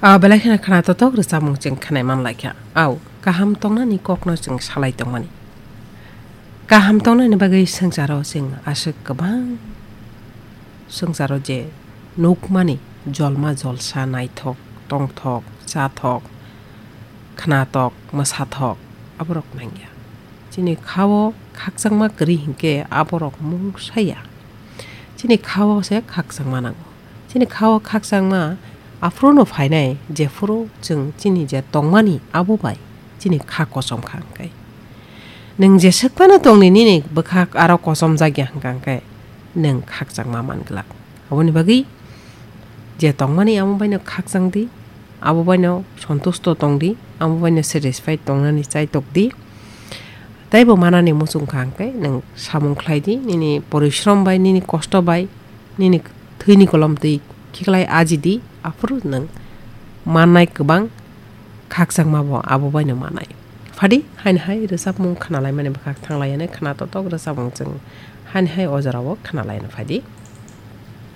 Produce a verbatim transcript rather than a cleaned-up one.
A belai kheno khna totok rwchapmung chwng khnai man lai kha. Au, kaham tongnani kokno chwng salai tongmani. Kaham tongnani bagwi swngcharo chwng aswk kwbang swngcharo je nukmani jolma jolsa naithok, tongthok, chathok, khnatok, mwsathok aborok nangya. Chini khao khakchangma kwrwi hinkhe aborok mung saya. Chini khao se khakchangma nango. Chini khao khakchangma aphuru no phainai, jephuru chwng chini je tongmani abo bai chini kha kosom kha hwnkhe. Nwng jeswk phano tongni nini bwkhak aro kosom jakya hwnkha hwnkhe nwng khakchangma man glak. Aboni bagwi je tongmani amo baino khakchang di, abo baino sontusto tong di, amo baino satisfied tongnani chai tok di. Taibo manani muchung kha hwnkhe nwng samung khlai di, nini porishrom bai, nini kosto bai, nini thwini kolom twi khiklai aji di, aphuru nwng mannai kwbang khakchangma bo abo baino manai. Phadi, haini hai rwchapmung khnalaimani bwkhak thanglaiyani khna totok rwchapmung chwng haini hai o jorao khnalaina phadi.